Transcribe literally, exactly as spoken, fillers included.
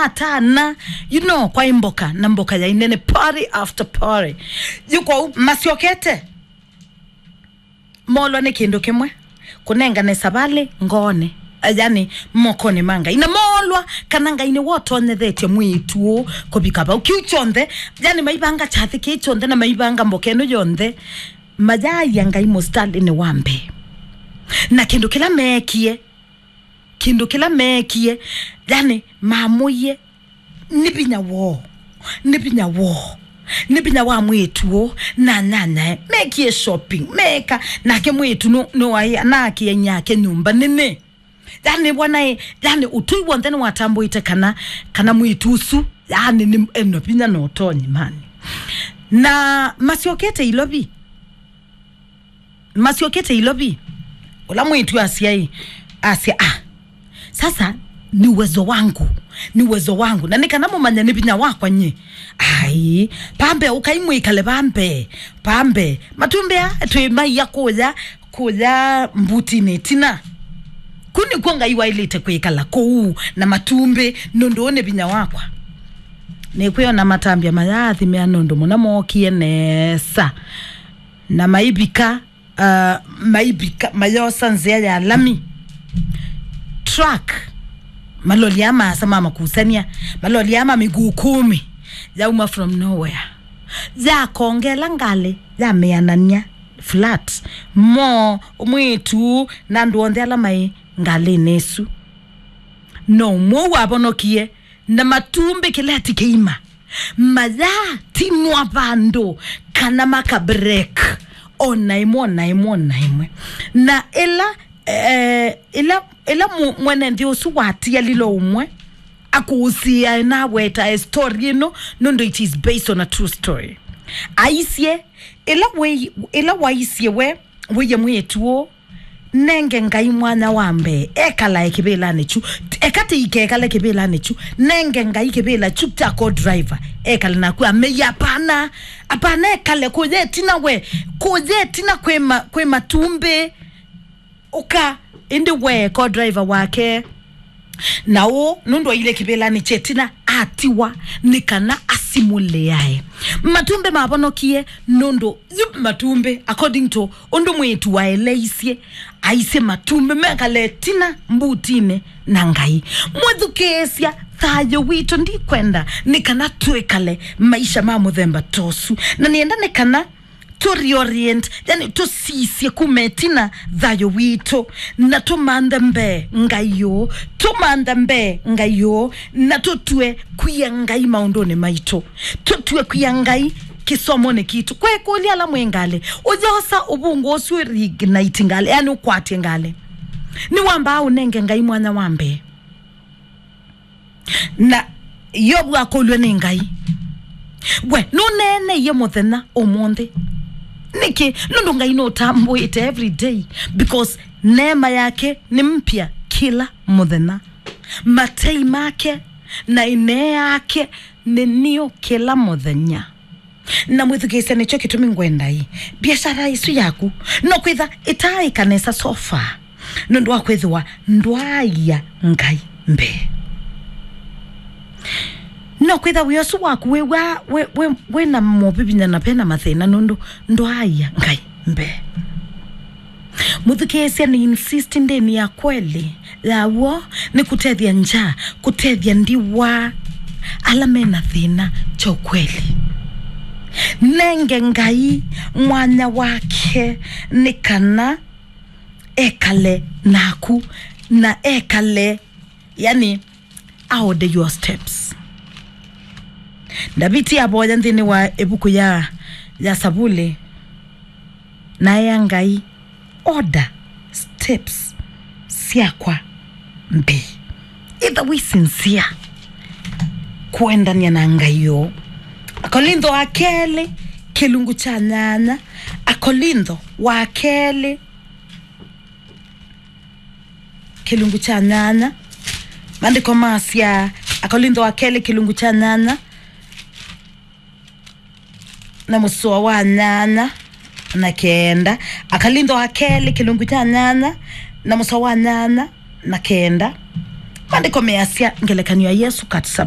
atana, you know, kwa mboka na mboka ya inene, party after party. Yu kwoou masyokete, molwa nĩ kĩndũ kĩmwe, kũnengane savalĩ ngoonĩ, yani, mokonĩ ma Ngai. Na molwa kana Ngai nĩwotonyethetye mwĩĩtu ũũ kũvika vau. Kĩu kyonthe, yani, maivanga kyathĩ kĩĩ kyonthe na maivanga mboka ĩno yonthe, mayaia Ngai mũsitalĩnĩ wa mbee. Na kĩndũ kĩla meekie, kĩndũ kĩla meekie, yani, mamũie nĩ vinya woo, nĩ vinya woo, nĩ vinya wa mwĩĩtu ũũ na nyanyae. Meekie shopping, meeka, nake mwĩĩtu nũ-, nũwaĩ anaakie inyake nyũmba nene. Yani, wanaĩ, yani, ũtũi w'onthe nĩwatambũĩte kana, kana mwĩĩtu ũsu, yani, nĩ ena vinya na ũtonyi, mani. Na masyokete Ilovi, masyokete Ilovi, ũla mwĩĩtu asya ĩ, asya, "Ah, sasa ni uwezo wangu, ni uwezo wangu, na nĩ kana mũmanye nĩ vinya wakwa nyie." Ai, pambe, ũkai mwĩkale pambe, pambe. Matumbĩ aa twĩ maia kũya, kũya mbutinĩ ĩtina. Kũu nĩkw'o Ngai waĩlĩte kwĩkala kũu na matumbĩ, nũndũ ũũ nĩ vinya wakwa. Nĩkwĩona matambya mayaathimĩa nũndũ mũna mookie nesa. Na maivika, uh, maivika, mayosa nzĩa ya lami. Truck, maloli aa maasa ma makusania, maloli aa ma mĩkũũ kũmi, yauma from nowhere. Yakongela ngalĩ, yamĩanania flat. Mo, mwĩĩtu, na andũ onthe ala maĩ ngalĩnĩ ĩsu. No ũmwe wavonokie, na matumbĩ kĩleti kĩima. Mayatinwa vandũ kana maka break. Ona ĩmwe, ona ĩmwe, ona ĩmwe. Na ĩla, eh, ĩla, ĩla mu-, mwene nthĩ ũsu watialile ũmwe, akũũsĩae na awetae story ĩno, nũndũ it is based on a true story. Aisye, ĩla wĩ-, ĩla waisye we, wĩie mwĩĩtu ũũ, nenge Ngai mwanya wa mbee, ekalae kĩvĩlanĩ kyu. Eka tĩikekale kĩvĩlanĩ kyu, nenge Ngai kĩvĩla kyu kya co-driver, ekale naku. Amei, "Apana, apana, ekale kũya ĩtina we, kũya ĩtina kwĩ ma-, kwĩ matumbĩ." Ũka, ĩndĩ we co-driver wake. Na ũũ, nũndũ aile kĩvĩlanĩ kya ĩtina, atiwa nĩ kana asimũlĩae. Matumbĩ mavonokie nũndũ yu matumbĩ, according to ũndũ mwĩĩtu waeleisye, aisye matumbĩ mekale ĩtina mbutinĩ na Ngai. Mwĩthukĩĩsya, thayũ witũ ndikwenda nĩ kana twĩkale maisha ma mũthemba ta ũsu. Na nĩenda nĩ kana tũ reorient, yani tũsisye kuma ĩtina thayũ witũ, na tũmanthe mbee Ngai ũũ, tũmanthe mbee Ngai ũũ, na tũtue kwia Ngai maũndũnĩ maitũ, tũtue kwia Ngai kĩsomonĩ kitũ. Kwekũlya ala mwĩ ngalĩ, ũyosa ũvungũ ũsu reignite ngalĩ, yani ũkwatye ngalĩ, nĩwambaa ũnenge Ngai mwanya wa mbee. Na Yovu akũlw'e nĩ Ngai, "We nũneeneie mũthenya ũmũnthĩ nĩkĩ?" Nũndũ Ngai nũtambũĩte every day, because neema yake nĩ mpya kĩla mũthenya. Matei make na ĩnee yake nĩ niũ kĩla mũthenya. Na mwĩthukĩĩsya, nĩkyo kĩtumi ngwenda ĩ, biashara ĩsu yaku no kwĩtha ĩtaaĩka nesa so far, nũndũ wa kwĩthĩwa ndwaaia Ngai mbee. No kwĩtha wĩa ũsu waku wĩw'a wĩ, wĩ, wĩ na movivinya na ve na mathĩna, nũndũ ndwaaia Ngai mbee. Mũthukĩĩsya, nĩ insist ndĩni ya kweli ya w'o nĩ kũtethya ngya, kũtethya ndiwa ala me na thĩna kya ũkweli. Nenge Ngai mwanya wake nĩ kana ekale naku na ekale, yani, aode your steps. Ndaviti avoya nthĩnĩ wa ĩvuku ya, ya Savuli, na ea Ngai, "Order steps syakwa mbee." Ĩtha wĩ sincere kũendany'a na Ngai ũũ. Akolintho wa kelĩ, kĩlungu kya nyanya. Akolintho wa kelĩ, kĩlungu kya nyanya. Maandĩko masya, Akolintho wa kelĩ kĩlungu kya nyanya na mũsoa wa nyanya na kenda. Akolintho wa kelĩ kĩlungu kya nyanya na mũsoa wa nyanya na kenda. Maandĩko measya, ngelekany'o ya Yesũ katisa